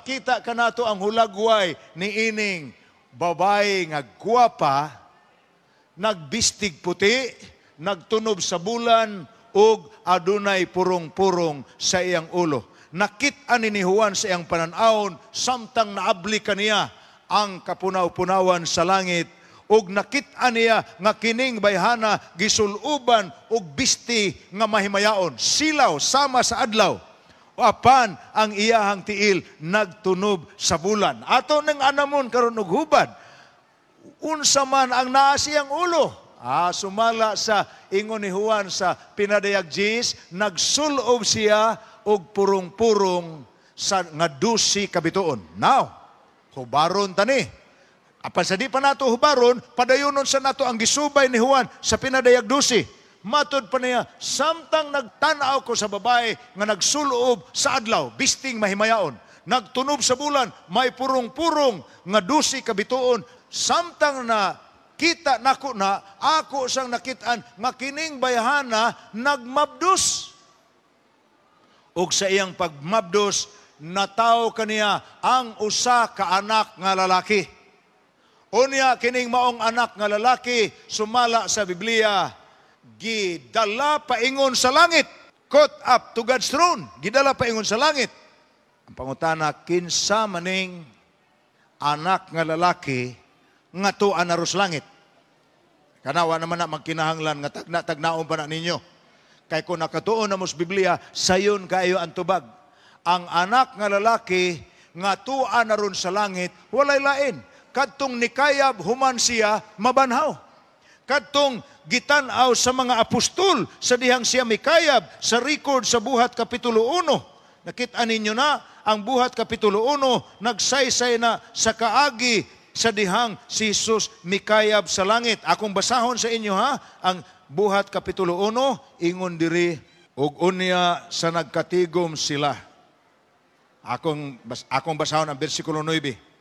Ipakita kanato ang hulagway ni ining babae nga gwapa, nagbistig puti, nagtunob sa bulan, ug adunay purong-purong sa iyang ulo. Nakit-an ni Juan sa iyang panan-awon samtang naabli kaniya ang kapunaw-punawan sa langit ug nakit-an niya nga kining bayhana gisuluban og bisti nga mahimayaon, silaw sama sa adlaw. Apan ang iyahang tiil nagtunob sa bulan. Ato nang anamon karon og hubad, unsa man ang naa siyang ulo? Sumala sa ingon ni Juan sa Pinadayag 10, nagsulob siya og purong-purong sa nga 12 ka bituon. Now, hubaron tani. Apan sa di pa nato hubaron, padayonon sa nato ang gisubay ni Juan sa Pinadayag 12. Matod pa niya, samtang nagtanaw ko sa babae nga nagsulob sa adlaw, bisting mahimayaon, nagtunob sa bulan, may purong-purong nga 12 ka bituon, samtang na kita nako na, ako sang nakitaan nga kining bayhana nagmabdos. Ug sa iyang pagmabdos, natawo kaniya ang usa ka anak nga lalaki. Unya kining maong anak nga lalaki, sumala sa Biblia, gidala paingon sa langit. Caught up to God's throne. Gidala paingon sa langit. Ang pangutana, kinsa maning anak nga lalaki nga tuan na sa langit? Kanawa naman na magkinahanglan nga tagna tagnaon pa na ninyo. Kay kung nakatuon na mo sa Biblia, sayon kayo ang tubag. Ang anak nga lalaki nga tuan na ron sa langit, walay lain. Kadtong nikayab human siya mabanhaw. Kadtong gitan-aw sa mga apostol sa dihang siya mikayab sa record sa Buhat Kapitulo 1. Nakita ninyo na ang Buhat Kapitulo 1, nagsaysay na sa kaagi sa dihang si Jesus mikayab sa langit. Akong basahon sa inyo ha, ang Buhat Kapitulo 1, ingon diri, ug unya sa nagkatigom sila. Akong basahon ang bersikulo 9.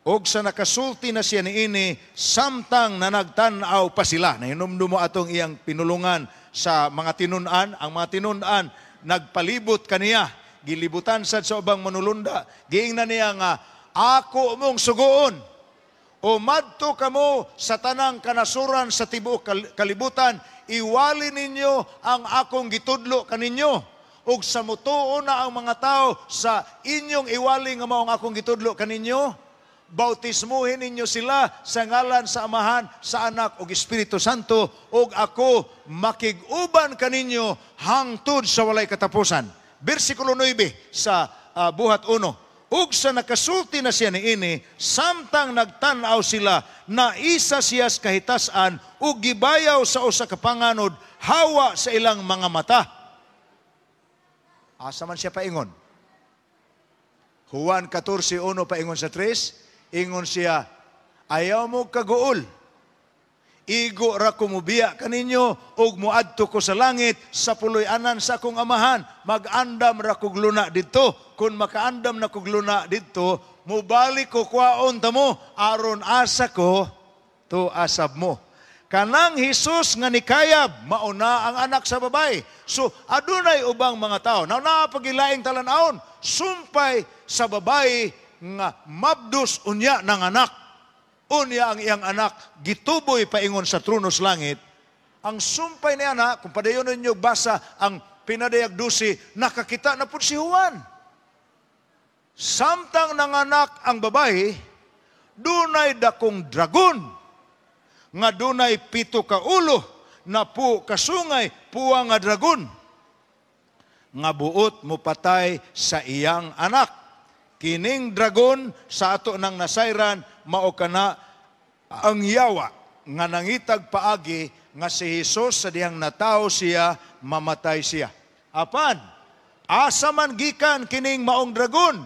Og sa nakasulti na siya niini, samtang nanagtan-aw pa sila. Nahinumdum mo atong iyang pinulungan sa mga tinun-an. Ang mga tinun-an, nagpalibot kaniya. Gilibutan sad sa ubang manulunda. Giingnan niya nga, "Ako mong suguon. O madto kamo sa tanang kanasuran sa tibuok kalibutan, iwali ninyo ang akong gitudlo kaninyo. Ug sa mutuo na ang mga tao sa inyong iwali nga mao ang akong gitudlo kaninyo, bautismuhin ninyo sila sa ngalan sa Amahan, sa Anak ug Espiritu Santo, ug ako makig-uban kaninyo hangtod sa walay katapusan." Bersikulo 9 sa Buhat 1. Ug sa nakasulti na siya niini, samtang nagtan-aw sila, naisa siya sa kahitasan ug gibayaw sa usa ka panganod hawa sa ilang mga mata. Asa man siya paingon? Juan 14:1 paingon sa 3, ingon siya, "Ayaw mo kaguol. Igo ra ko mubiya kaninyo ug muadto ko sa langit sa puloy-anan sa akong Amahan. Mag-andam ra kog luna didto. Kung makaandam na kog luna didto, mubalik ko kwaon tamo aron asa ko to asab mo." Kanang Hesus nga nikayab, mauna ang anak sa babae. So adunay ubang mga tao. Now naa pagilaing talan-awon, sumpay sa babae nga mabdos unya ng anak. Unya ang iyang anak gituboy paingon sa trono sa langit. Ang sumpay niya na, kung padayon ninyo basa ang Pinadayag 12, nakakita na po si Juan. Samtang nanganak ang babae, dunay dakong dragon nga dunay 7 ka ulo, 10 ka sungay, puwa nga dragon nga buot mopatay sa iyang anak. Kining dragon sa ato nang nasayran mao kana ang yawa nga nangitag paagi nga si Hesus sa dihang natawo siya, mamatay siya. Apan asa man gikan kining maong dragon?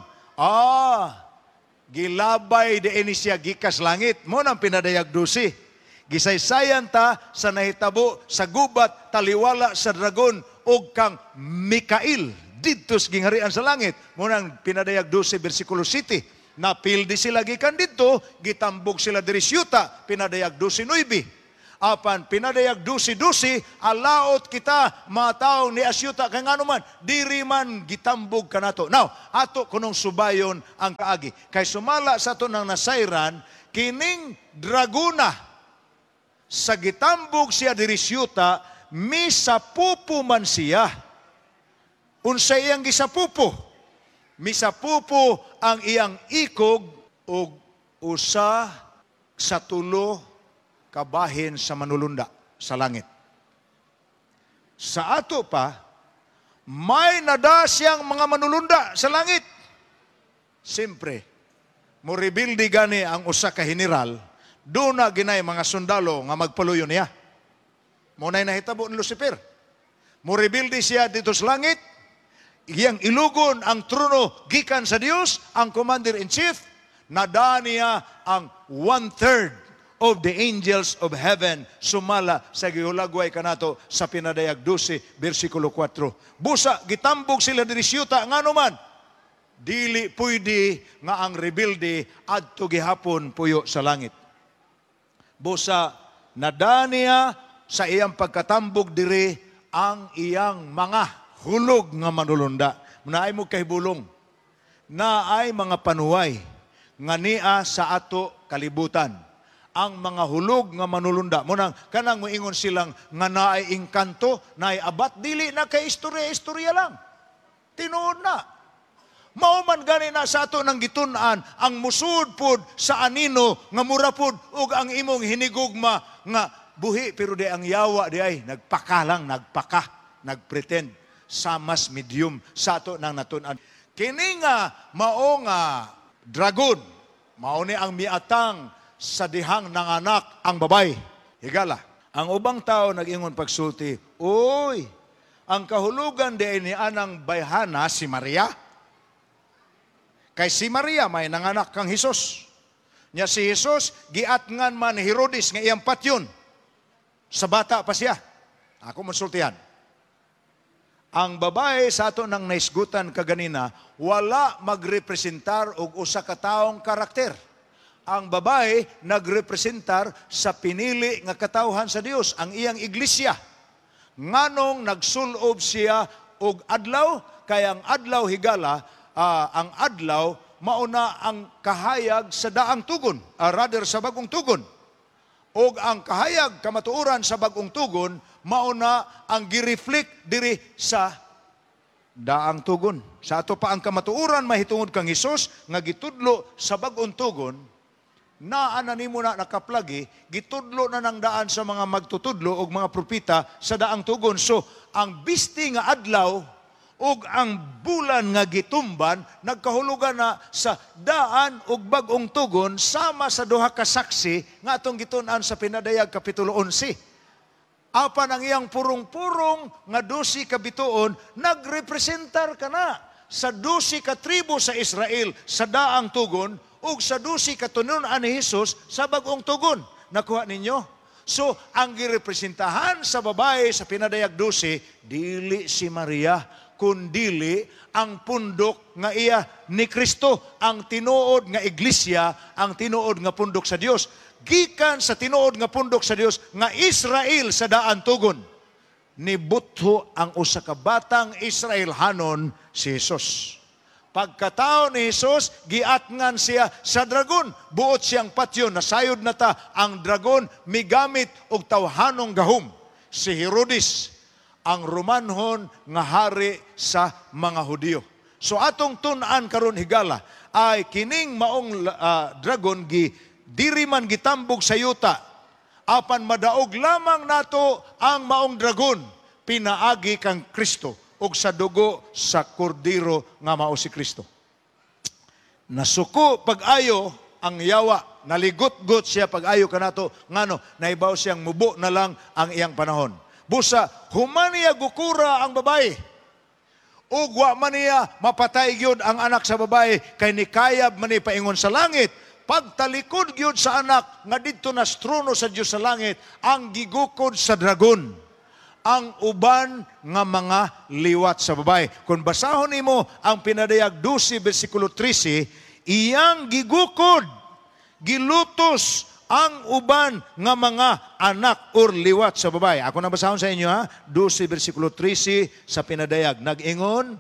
Gilabay diini siya gikas langit mo nang Pinadayag 12. Gisaysayan ta sa nahitabo sa gubat taliwala sa dragon og kang Mikael didto sa gingharian sa langit. Mo nang Pinadayag 12 bersikulo 7. Napildi sila gikan didto, gitambog sila diri sa yuta, Pinadayag 12:9. Apan Pinadayag 12:12, alaot kita mga tawo ni asyuta kay ngano man diri man gitambog kanato. Now, ato kunong subayon ang kaagi. Kay sumala sa ato nang nasayran kining dragona sa gitambog siya diri siyuta, misapupo man siya. Unsa iyang gisapupo? Misapupo ang iyang ikog og 1 sa 3 kabahin sa manulunda sa langit. Sa ato pa, may nada siyang mga manulunda sa langit. Siyempre, morebilde gani ang usa ka general, duna ginay mga sundalo nga magpaluyo niya. Mao nay nahitabo ni Lucifer. Morebilde siya dito sa langit, iyang ilugon ang trono gikan sa Dios, ang commander-in-chief, nada niya ang one-third of the angels of heaven sumala sa gihulagway kanato sa Pinadayag 12 versikulo 4. Busa gitambog sila diri siyuta, ngano man dili pwede nga ang rebelde adto gihapon puyo sa langit. Busa nadaniya sa iyang pagkatambog diri ang iyang mga hulog nga manulunda. Naay mo kahibulong. Naay mga panuway nga nia sa ato kalibutan. Ang mga hulog nga manulunda. Munang kanang moingon silang nga naay engkanto, naay abat, dili na kay istorya, istorya lang. Tinuod na. Mao man gani na sa ato nang gitun-an ang musud pod sa anino nga mura pod og ang imong hinigugma nga buhi, pero di ang yawa di ay nagpaka lang, nagpaka, nagpretend sa mas medium sa ato nang natun-an. Kini nga mao nga dragon, mao ni ang miatang sa dihang nanganak ang babay. Higala, ang ubang tao nag-ingon pagsulti, "Uy, ang kahulugan di ay ni anang bayhana si Maria. Kay si Maria may nanganak kang Hesus. Nya si Hesus giatngan man ni Herodes nga iyang patyon. Sa bata pa siya." Ako monsultihan. Ang babae sa ato nang naisgutan kaganina, wala magrepresentar og usa ka taong karakter. Ang babae nagrepresentar sa pinili nga katawhan sa Dios, ang iyang iglesia. Nganong nagsulob siya og adlaw? Kay ang adlaw, higala, ang adlaw mauna ang kahayag sa daang tugon, rather sa bagong tugon. Og ang kahayag kamatuoran sa bagong tugon mauna ang gireflect diri sa daang tugon. Sa ato pa ang kamatuoran mahitungod kang Hesus nga gitudlo sa bagong tugon, naa na nimo na nakaplagi, gitudlo na ng daan sa mga magtutudlo og mga propeta sa daang tugon. So, ang bisti nga adlaw ug ang bulan nga gitumban nagkahulugan na sa daan ug bag-ong tugon sama sa duha ka saksi nga atong gitun-an sa Pinadayag kapitulo 11. Apan ang iyang purong-purong nga 12 ka bituon nagrepresentar kana sa 12 ka tribo sa Israel sa daang tugon ug sa 12 ka tinud-an ni Hesus sa bag-ong tugon. Nakuha ninyo? So, ang girepresentahan sa babae sa Pinadayag 12, dili si Maria, kundili ang pundok nga iya ni Kristo, ang tinuod nga iglesia, ang tinuod nga pundok sa Dios. Gikan sa tinuod nga pundok sa Dios nga Israel sa daan tugon, nibutho ang usa ka batang Israelhanon, si Jesus. Pagkatao ni Jesus, giatngan siya sa dragon. Buot siyang patyon, nasayod na ta, ang dragon migamit og tawhanong gahom. Si Herodes, ang Romanhon nga hari sa mga Hudiyo. So atong tun-an karon, higala, ay kining maong dragon gi diri man gitambog sa yuta. Apan madaog lamang nato ang maong dragon pinaagi kang Kristo ug sa dugo sa kordero nga mao si Kristo. Nasuko pag-ayo ang yawa, naligot-got siya pag-ayo kanato ngano naibaw siyang mubo na lang ang iyang panahon. Busa human niya gukura ang babae. Ug wa man niya mapatay gyud ang anak sa babae kay nikayab man ni paingon sa langit. Pagtalikod gyud sa anak nga didto na sa trono sa Dios sa langit, ang gigukod sa dragon ang uban nga mga liwat sa babae. Kung basahon nimo ang Pinadayag 12 versikulo 13, iyang gigukod, gilutos ang uban nga mga anak or liwat sa babae. Ako na basahon sa inyo ha, 12 versikulo 13 sa Pinadayag. Nag-ingon,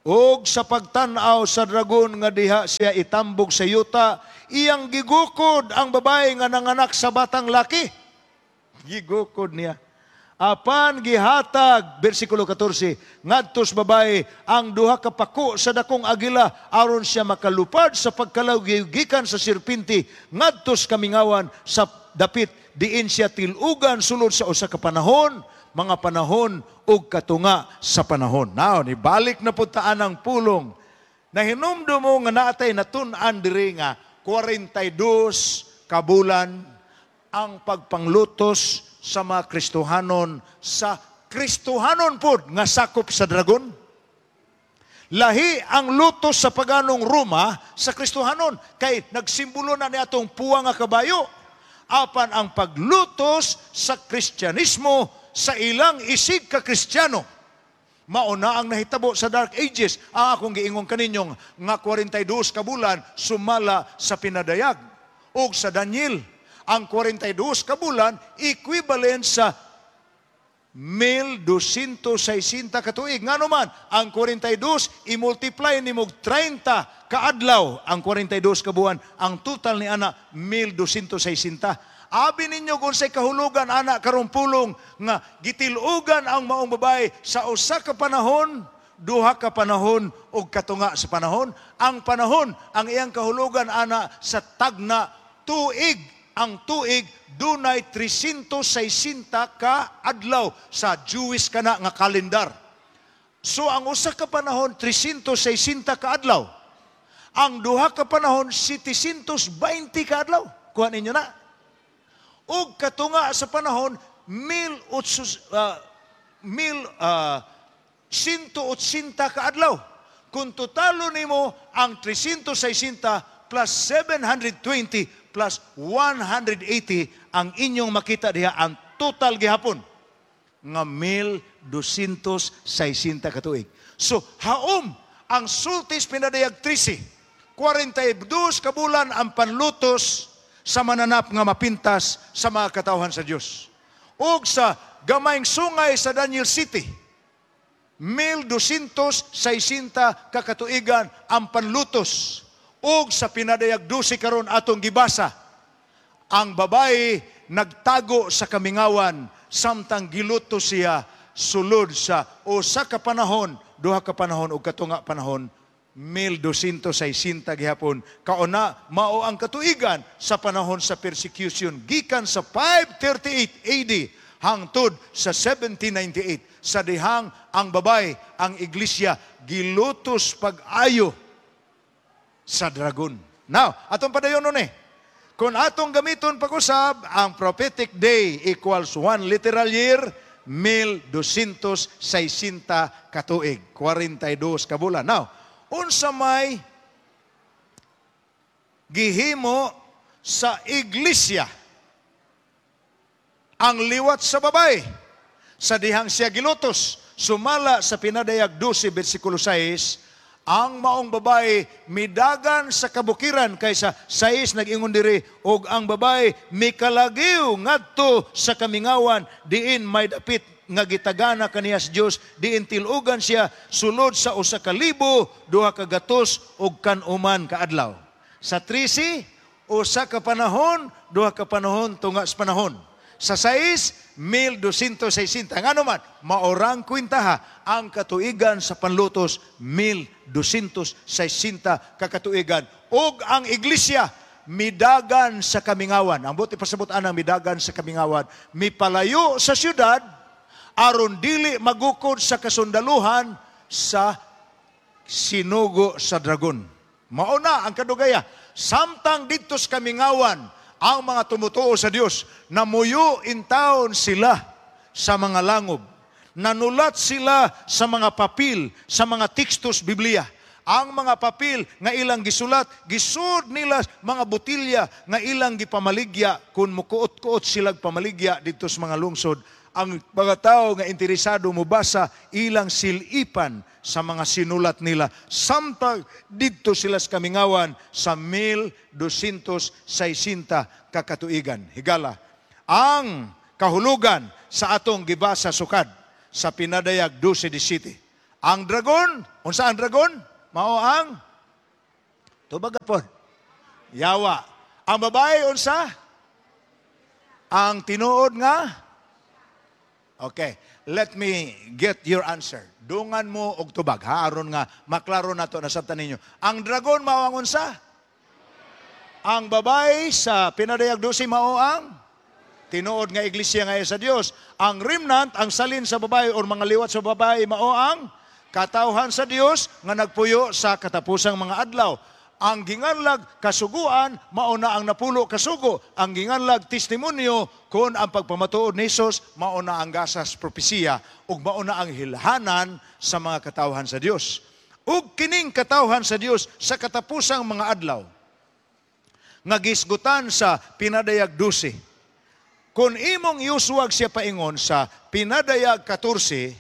"Og sa pagtan-aw sa dragon nga diha siya itambog sa yuta, iyang gigukod ang babae nga nanganak sa batang laki." Gigukod niya. Apan gihatag, versikulo 14, ngadto sa babae ang duha ka pako sa dakong agila aron siya makalupad sa pagkalawig gikan sa sirpinti ngadto sa kamingawan sa dapit, diin siya tilugan sulod sa usa ka panahon, mga panahon ug katunga sa panahon. Now, nibalik na pud ta anang pulong. Nahinumdum mo nga naatay natun-an diri nga 42 ka bulan ang pagpanglutos sa mga Kristohanon sa Kristohanon pod nga sakop sa dragon. Lahi ang lutos sa paganong Roma sa Kristohanon kay nagsimbolo na ni atong puwa nga kabayo. Apan ang paglutos sa Kristyanismo sa ilang isig ka Kristiyano, mao na ang nahitabo sa Dark Ages. Ang akong giingon kaninyong nga 42 ka bulan sumala sa Pinadayag. Og sa Daniel, ang 42 ka bulan equivalent sa 1,260 ka tuig. Ngano man, ang 42 i-multiply nimo 30 kaadlaw ang 42 ka buwan, ang total ni ana 1,260. Abi ninyo kung say kahulugan ana karong pulong nga gitilugan ang maong babae sa usa ka panahon, duha ka panahon ug katunga sa panahon. Ang panahon, ang iyang kahulugan ana sa tagna tuig. Ang tuig dunay 360 ka adlaw sa Jewish kana nga kalendar. So ang usa ka panahon, 360 ka adlaw. Ang duha ka panahon, 720 ka adlaw. Kuha ninyo na. Ug katunga sa panahon, mil otso, mil 180 ka adlaw. Kung totalo nimo ang 360 plus 720 plus 180, ang inyong makita diha ang total gihapon nga 1,260 ka tuig. So, haom ang sultis Pinadayag 13, 42 ka bulan ang panlutos sa mananap nga mapintas sa mga katawhan sa Dios. Ug sa gamayng sungay sa Daniel 7, 1,260 ka katuigan ang panlutos. Ug sa Pinadayag 12 karon atong gibasa, ang babae nagtago sa kamingawan samtang giluto siya sulod sa usa ka panahon, duha ka panahon ug katunga panahon, 1,260 gihapon. Kauna mao ang katuigan sa panahon sa persecution gikan sa 538 AD hangtod sa 1798, sa dihang ang babae, ang iglesia, gilutos pag-ayo sa dragon. Now, atong padayon nun eh. Kung atong gamiton pag-usab, ang prophetic day equals one literal year, 1,260 katuig, 42 ka bulan. Now, unsa may gihimo sa iglesia ang liwat sa babae sa dihang siya gilutos? Sumala sa Pinadayag 12 versikulo 6, ang maong babae midagan sa kabukiran, kaysa 6 nag-ingon diri, "Og ang babae mikalagiw ngadto sa kamingawan diin may dapit nga gitagana kaniya sa Dios, diin tilugan siya sulod sa 1,200 og kanuman ka adlaw." Sa 13, usa ka panahon, duha ka panahon, tunga sa panahon. Sa 6, 1,260. Ngano man, maorang kwintaha ang katuigan sa panlutos, 1,260 kakatuigan. Og ang iglesia, midagan sa kamingawan. Ang buot ipasabot anang midagan sa kamingawan, mipalayo sa syudad, aron dili magukod sa kasundaluhan sa sinugo sa dragon. Mauna ang kadugaya. Samtang didto sa kamingawan, ang mga tumutuo sa Dios, namuyo in town sila sa mga langob. Nanulat sila sa mga papel, sa mga tekstos Biblia. Ang mga papel nga ilang gisulat, gisud nila mga botilya nga ilang gipamaligya kung mukuot-kuot silag pamaligya dito sa mga lungsod. Ang mga tao nga interesado mobasa, ilang silipan sa mga sinulat nila. Samtang didto sila sa kamingawan sa 1260 ka katuigan. Higala, ang kahulugan sa atong gibasa sukad sa Pinadayag 12:17. Ang dragon, unsa ang dragon? Mao ang tubag pod. Yawa. Ang babae, unsa? Ang tinuod nga. Okay, let me get your answer. Dungan mo og tubag ha, aron nga maklaro nato, nasabtan ninyo. Ang dragon mao ang unsa? Ang babae sa Pinadayag 12 mao ang tinuod nga iglesia nga sa Dios. Ang remnant, ang salin sa babae or mga liwat sa babae, mao ang katawhan sa Dios nga nagpuyo sa katapusang mga adlaw. Ang ginganlag kasuguan mao na ang 10 kasugo. Ang ginganlag testimonyo kon ang pagpamatuod ni Hesus mao na ang gasas propesiya ug mao na ang hilhanan sa mga katawhan sa Dios. Ug kining katawhan sa Dios sa katapusang mga adlaw nga gisgutan sa Pinadayag 12. Kung imong iuswag siya paingon sa Pinadayag 14,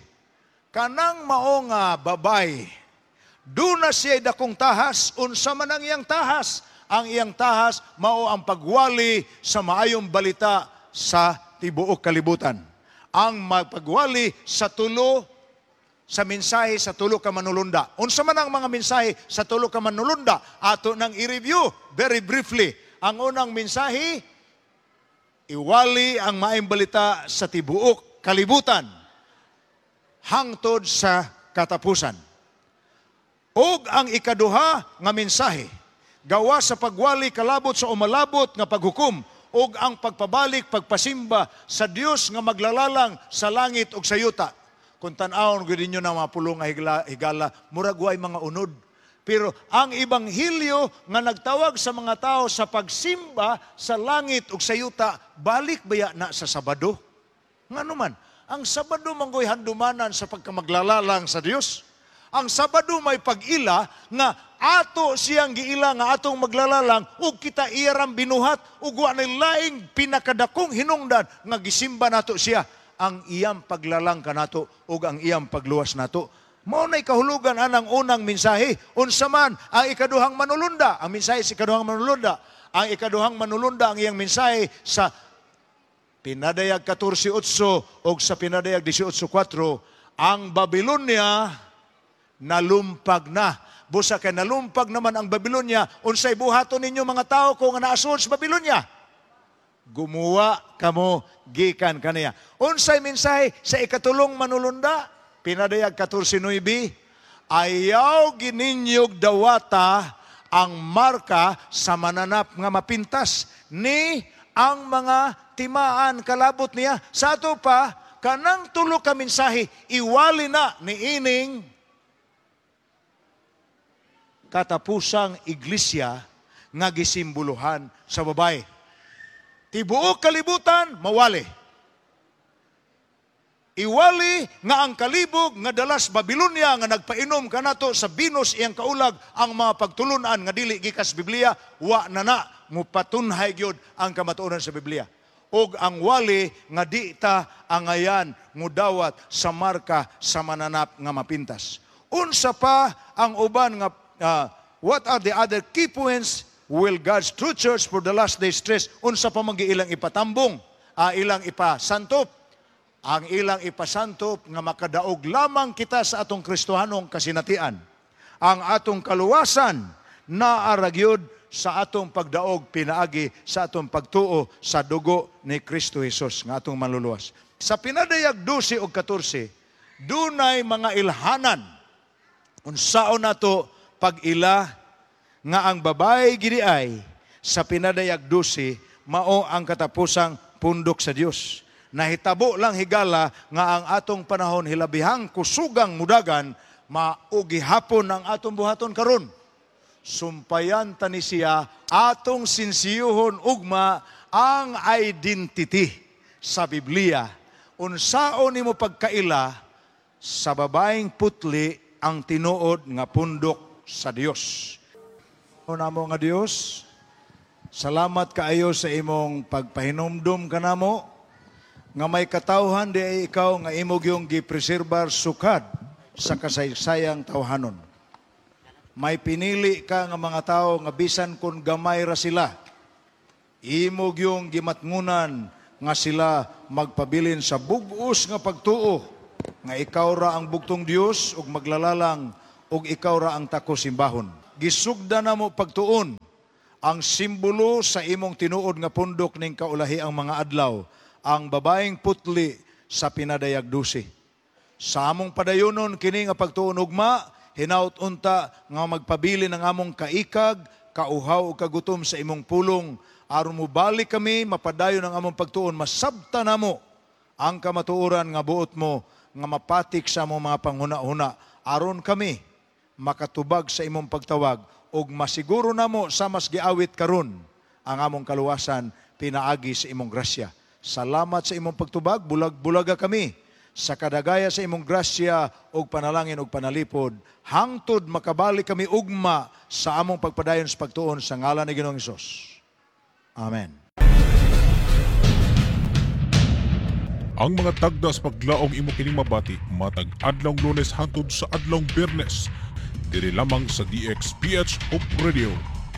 kanang mao nga babay, duna siya dakong tahas. Unsa man ang iyang tahas? Ang iyang tahas mao ang pagwali sa maayong balita sa tibuok kalibutan. Ang magpagwali sa tulo sa mensahe sa tulo ka manulunda. Unsa man ang mga mensahe sa tulo ka manulunda? Ato nang i-review very briefly. Ang unang mensahe, iwali ang maayong balita sa tibuok kalibutan hangtod sa katapusan. Og ang ikaduha nga mensahe, gawa sa pagwali kalabot sa umalabot nga paghukom ug ang pagpabalik pagpasimba sa Dios nga maglalalang sa langit ug sa yuta. Kung tan-awon gyud ninyo na mga pulong nga higala, murag way mga unod. Pero ang ebanghelyo nga nagtawag sa mga tao sa pagsimba sa langit ug sa yuta, balik baya na sa Sabado? Ngano man, ang Sabado manggoy handumanan sa pagkamaglalalang sa Dios. Ang Sabado may pag-ila nga ato siyang giila nga atong maglalalang ug kita iyarang binuhat ug wa nay laing pinakadakong hinungdan nga gisimba nato siya, ang iyang paglalang kanato ug ang iyang pagluwas nato. Mao nay kahulugan anang unang mensahe. Unsa man ang ikaduhang manulunda? Ang mensahe sa ikaduhang manulunda. Ang ikaduhang manulunda, ang iyang mensahe sa Pinadayag 14:8 ug sa Pinadayag 18:4, ang Babylonia nalumpag na. Busa kay nalumpag naman ang Babylonia, unsay buhaton ninyo mga tao kung naasol sa Babylonia? Gumuwa kamo gikan kaniya. Unsay mensahe sa ikatulong manulunda? Pinadayag 14:9, ayaw gininyog dawata ang marka sa mananap nga mapintas ni ang mga timaan kalabot niya. Sa ato pa, kanang tulo ka mensahe, iwali na ni ining katapusang iglesia nga gisimboluhan sa babae. Tibuok kalibutan, mawali. Iwali nga ang kalibog nga dalas Babylonia nga nagpainom kanato sa binos iyang kaulag, ang mga pagtulunan nga dili gikas Biblia, wa na na mupatunhay gyud ang kamatuoran sa Biblia. Og ang wali nga di ta angayan mudawat sa marka sa mananap nga mapintas. Unsa pa ang uban nga what are the other key points will God's true church for the last days stress? Unsa pa man ilang ipatambong, ilang ipasantop? Ang ilang ipasantop nga makadaog lamang kita sa atong Kristohanong kasinatian. Ang atong kaluwasan naa ra gyud sa atong pagdaog pinaagi sa atong pagtuo sa dugo ni Kristo Jesus nga atong manluluwas. Sa Pinadayag 12 ug 14, dunay mga ilhanan. Unsaon nato pag-ila nga ang babae gidi ay sa Pinadayag 12 mao ang katapusang pundok sa Dios? Nahitabo lang, higala, nga ang atong panahon hilabihang kusugang mudagan, mao gihapon ang atong buhaton karon. Sumpayan ta ni siya, atong sinsiyuhon ugma ang identity sa Biblia. Unsaon nimo pagkaila sa babaeng putli ang tinuod nga pundok sa Dios? Namo nga Dios, salamat kaayo sa imong pagpahinumdum kanamo. Nga may katawhan diay ikaw nga imo gyung gipreserbar sukad sa kasaysayang tawhanon. May pinili ka nga mga tao nga bisan kung gamay ra sila, imo gyung gimatngunan nga sila magpabilin sa bug-os nga pagtuo nga ikaw ra ang bugtong Dios ug maglalalang ug ikaw ra ang takos simbahon. Gisugda namo pagtuon ang simbolo sa imong tinuod nga pundok ning kaulahiang mga adlaw, ang babaeng putli sa Pinadayag 12. Sa among padayonon kini nga pagtuon ugma, hinaut unta nga magpabilin ang among kaikag, kauhaw ug kagutom sa imong pulong aron mobalik kami, mapadayon ang among pagtuon, masabta namo ang kamatuoran nga buot mo nga mapatik sa among mga panghuna-huna aron kami makatubag sa imong pagtawag ug masiguro namo sa mas giawit karon ang among kaluwasan pinaagi sa imong grasya. Salamat sa imong pagtubag, bulag-bulaga kami sa kadagaya sa imong grasya ug panalangin ug panalipod hangtod makabalik kami ugma sa among pagpadayon sa pagtuon sa ngalan ni Ginoong Hesus. Amen. Ang mga tagda sa paglaom imo kining mabati matag adlawng Lunes hangtod sa adlawng Biyernes diri lamang sa DXPH Hope Radio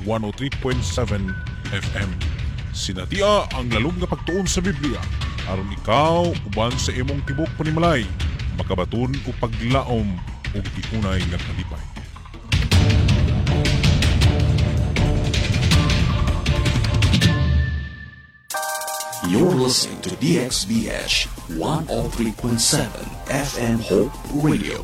103.7 FM. Sinatia ang lalom nga pagtuon sa Biblia aron ikaw uban sa imong tibok panimalay makabaton og paglaom ug tiunay nga kalipay. You're listening to DXBH 103.7 FM Hope Radio.